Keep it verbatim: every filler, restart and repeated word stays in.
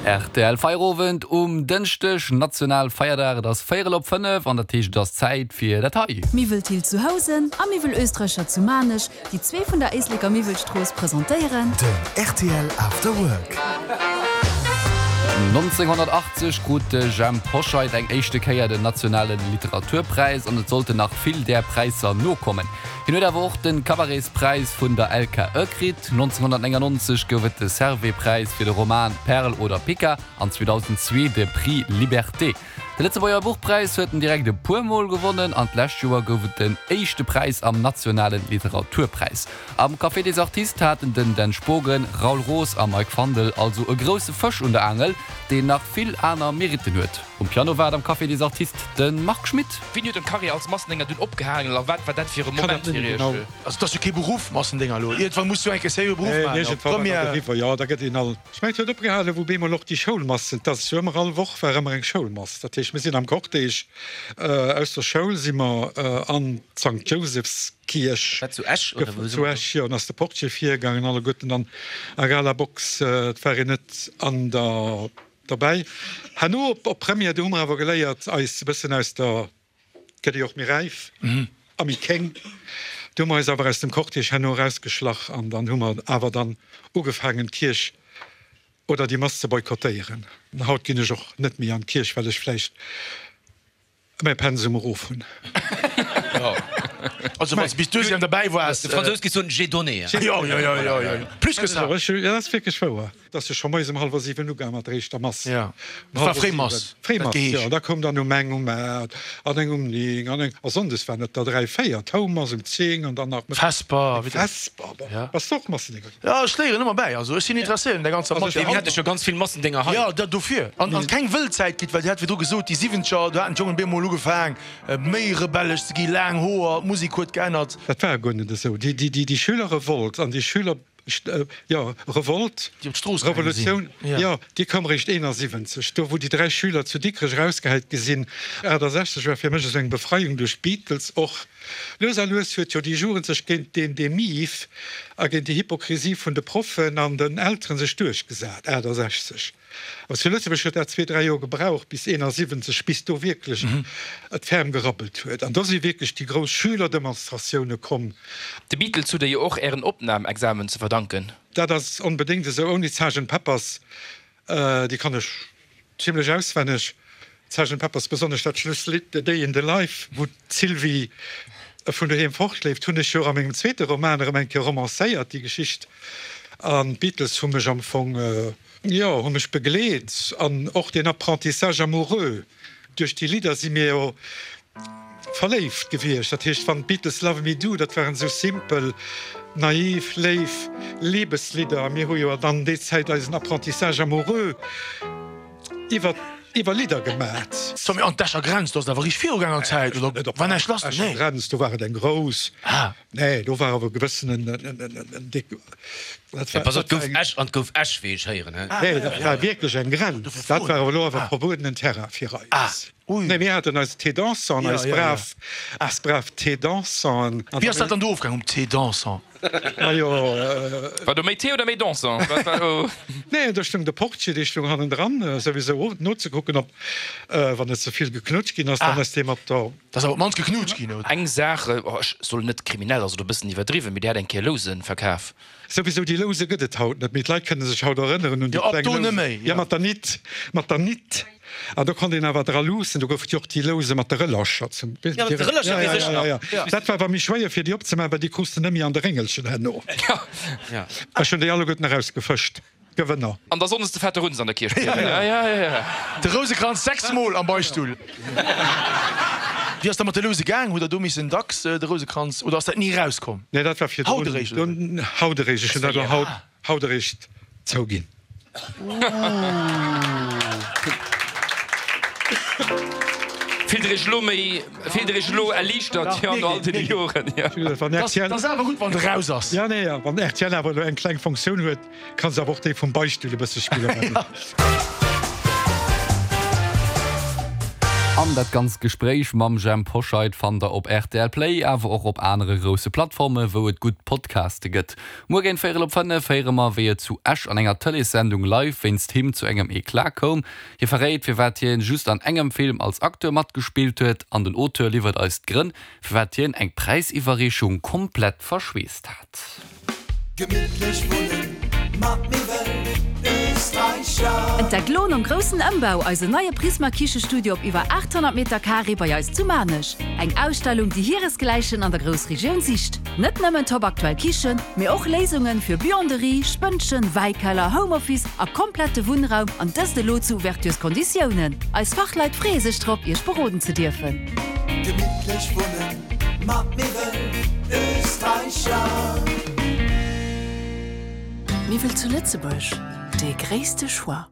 Rtl Feierowend um Dënschdeg, National Feierdag, et ass véierel op fënnef an dat heescht et ass Zäit fir dat hei. Miwwel Thill zu Housen a Miwwel Oestreicher zu Maarnech, déi zwee vun der Éisleker Miwwelstrooss presentéieren. Den rtl After Work. nonzénghonnertachtzeg krut de Jhemp Hoscheit eng éischte Kéier den nationale Literaturpräis an et sollten nach vill där Präisser nokommen. Hien huet awer och de Cabaretspräis vun der L K E kritt. nonzénghonnertnéngannonzeg gouf et de Servais-Präis fir de Roman Perl oder Pica an zweedausendzwee de Prix Liberté. De Lëtzebuerger Buchpräis huet en direkt e puer Mol gewonnen an d'lescht Joer gouf et den éischte Präis am nationale Literaturpräis. Am Café des Artistes haten den Dan Spogen, Raoul Roos a Mike Fandel also e grousse Fësch un der Aangel, deen nach vill aner Meritten huet. Um Piano war et am Café des Artistes de Marc Schmitt. Wéini huet den Carrière als Massendénger dunn opgehaangen a wat war dat fir e Moment fir Iech? Also et ass jo kee Beruff, Massendénger elo. Iergendwann muss du eng Kéier seriö Beruff maachen. Iergendwann war dat eriwwer, jo. Da gëtt een al. Ech mengen, et huet opgehalen, wou bemol och déi Schoulmassen, et ass jo ëmmer all Woch war ëmmer eng Schoulmass. Dat heescht, mir sinn am Cortège aus der Schoul si mer an d'Sankt Jousefskierch. Wat, zu Esch oder wou? Zu Esch, jo. An ass de Portier virgaangen, alleguerten an a Galabox. Et war een net an der derbäi. Herno op Première, do hu mer awer geléiert, eis e bëssen aus der, et gëtt ee jo och méi räif a méi kéng, do hu mer eis awer aus dem Cortège herno erausgeschlach an dann hu mer awer dann ugefaangen, d'Kierch oder déi Mass ze boykottéieren. Haut ginn ech och net méi an d'Kierch, well ech vläicht mäi Pensum erof hunn. Also wann s de bis deuxième derbäi waars. De Fransous géif soen, j'ai donné. Jo, jo, jo, jo, jo, plus que ça. Jo, dat ass wierklech wouer. Et ass jo scho moies um hallwer siwen ugaang mat der éischter Mass. Jo, et war Fréimass. Fréimass, jo. Da koum dann um eng, um aacht an eng um ning an eng. A sonndes waren et der dräi, véier. D'Houmass um zéng an dann nach mëttes. Vesper. Vesper, bon. Bass de och Massendénger ginn? Jo, ech léieren ëmmer bäi. Also ech sinn interesséiert un där ganzer Matière. Mir hate scho ganz vill Massendénger hei. Jo, dat dofir. An an keng wëll Zäit gitt, well Dir hat virdru gesot, déi Siwwenzeger, do haten d'Jongen bemol ugefaang méi rebellesch ze ginn, laang Hoer, d'Musek huet geännert. Dat war guer net esou. Déi, déi, déi Schülerrevolt an déi Schüler, jo, Revolt, Déi op d'Strooss gaange sinn. Revolutioun, jo, déi koum eréischt eenasiwwenzeg, do wou déi dräi Schüler zu Dikrech erausgehäit gi sinn. Achttasechzeg war fir mech esou eng Befreiung duerch d'Beatles och. Lues a lues huet jo déi Jugend sech géint deen Demiv a géint déi Hypokrisie vun de Proffen an den Elteren sech duerchgesat, achttasechzeg. Awer zu Lëtzebuerg huet dat zwee, dräi Joer gebraucht, bis eenasiwwenzeg, bis do wierklech et ferm gerabbelt huet. An do si wierklech déi grouss Schülerdemonstratioune komm. De Beatles hutt Der jo och Ären Opnamexamen ze verdanken. Dat ass onbedéngt esou. Ouni d'Sergeant Peppers, déi kann ech zimlech auswenneg, d'Sergeant Peppers, besonnesch dat Schlusslidd The Day in the Life, wou d'Sylvie vun doheem fortleeft, hunn ech jo och a mengem zweete Roman erëm eng Kéier romancéiert, déi Geschicht. An d'Beatles hu mech am Fong, jo, hu mech begleet. An och deen Apprentissage amoureux, duerch déi Lidder si mir jo verléift gewiescht. Dat heescht, wann d'Beatles Love Me Do, dat waren esou simpel, naiv, léif Liebeslieder. A mir hu jo dann déi Zäit eisen Apprentissage amoureux iwwer iwwer Lidder gemat. So, mee an d'Escher Grenz, do ass et awer richteg virugaang an Zäit, oder war näischt lass? Escher Grenz, do war et eng grouss. Nee, do war awer e gewëssenen en déck. Dat war, Pass op, et gouf Esch an et gouf Esch, wéi ech héieren, he? Nee, dat war wierklech eng Grenz. Dat war awer elo awer verbuedenen Terrain fir eis. Nee, mir haten eis Thé dansant, eis brav, eis brav Thé dansanten. Wéi ass dat dann do ofgaang um Thé dansant? Majo. War do méi Thé oder méi dansant? Wat war do? Nee, do stoung de Portier, dee stoung hannendran, souwisou nozekucken, ob, wann net ze vill geknutscht ginn ass, dann ass dee mat der. Et ass awer op d'mannst geknutscht ginn, oder? Eng Saach, oh, ech soll net kriminell, ass elo e bëssen iwwerdriwwen, mee Dir hat eng Kéier Lousen verkaf. Souwisou, déi Louse gëtt et haut net méi. D'Leit kënne sech haut erënneren un déi kleng Lousen. Jo, mat der Nitt, mat der Nitt. An do konnt een awer dra luussen. Do gouf et jo och déi Louse mat de Rëllercher zum. Jo, mat de Rëllercher weess ech nach. Jo, jo, jo. Dat war awer méi schwéier fir déi opzemaachen, well déi krus de net méi an de Réngelchen herno. Ech hunn déi alleguerten erausgefëscht. Gewënner. An da sonndes de fette Runz an der Kierch bliwwen. Ja, ja, ja. De Rousekranz sechs mol am Beichtstull. Wéi ass da mat de Louse gaang? Hutt der do missen dacks de Rousekranz oder ass dat ni erauskomm? Nee, dat war virdrun. Haut eréischt, oder? Haut eréischt. Ech hunn dat elo haut, haut eréischt zouginn. Fillt der iech elo méi, fillt der iech elo erliichtert, jo, no all deene Joren, jo? Wann R T L. Dat ass awer gutt, wann et eraus ass. Ja, nee, wann R T L awer elo eng kleng Fonctioun huet, kann se awer och déi vum Beichtstull e bësse spillen. An dat ganzt Gespréich mam Jhemp Hoscheit fannt der op rtl Play, awer och op anere grousse Plattforme wou et gutt Podcaste gëtt. Muer géint véierel op fënnef héiere mer, wéi et zu Esch an enger Tëleessendung live wéinst him zu engem Eclat koum. Hie verréit, firwat hien just an engem Film als Acteur matgespillt huet an den Auteur liwwert eis d'Grënn, firwat hien eng Präisiwwerreechung komplett verschweesst hat. Gemittlech wunnen mat Miwwel Österreicher. Entdeckt lo nom groussen Ëmbau eisen neie Prisma Kichestudio op iwwer achthonnert Meter Carré bei eis zu Maarnech. Eng Ausstellung, déi hiresgläichen an der Groussregioun sicht. Net nëmmen top aktuell Kichen, mee och Léisungen fir Buanderie, Spënnchen, Wäikeller, Homeoffice a komplette Wunnraum an dëst elo zu Ouvertures-Konditiounen. Eis Fachleit freeë sech drop, Iech beroden ze dierfen. Gemittlech wunnen mat Miwwel Österreicher. Miwwel zu Lëtzebuerg, dee gréisste Choix.